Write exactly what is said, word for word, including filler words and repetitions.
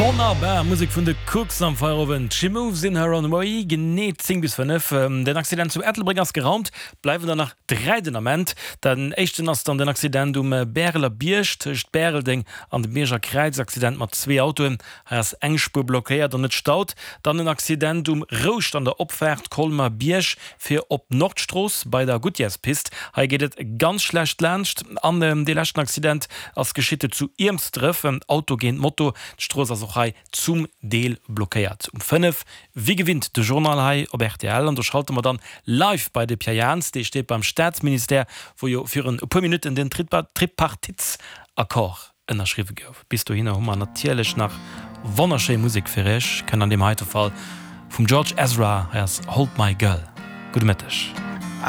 Wonnerbar Musek vun de Kooks am Feierowend. She moves in her own way. Genee zéng bis fënnef. Den Accident zu Ettelbréck ass geraumt. Bleiwen der nach dräi den Ament. Den éischten ass dann den Accident um Bäreler Bierg tëscht Bäreldeng an dem Mierscher Kräiz. Accident mat zwee Autoen. Hei ass eng Spuer blockéiert an et staut. Dann en Accident um Rouscht an der Opfaart Colmer-Bierg fir op d'Nordstrooss bei der Goodyearspist. Hei geet et ganz schlecht laanscht. An dee leschten Accident ass geschitt zu Iermsdref, Auto géint Moto. D'Strooss ass och hei zum Deel blockéiert. Um fënnef wéi gewinnt de Journal hei op rtl an do schalte mer dann live bei de Pierre Jans, dee steet beim Staatsministère, wou jo virun e puer Minutten den Tripartitsaccord ënnerschriwwe gouf. Bis dohinner hu mer natierlech nach wonnerschéi Musek fir iech, kënnt an deem heite Fall vum George Ezra, hei ass Hold My Girl. Gudde Mëtteg.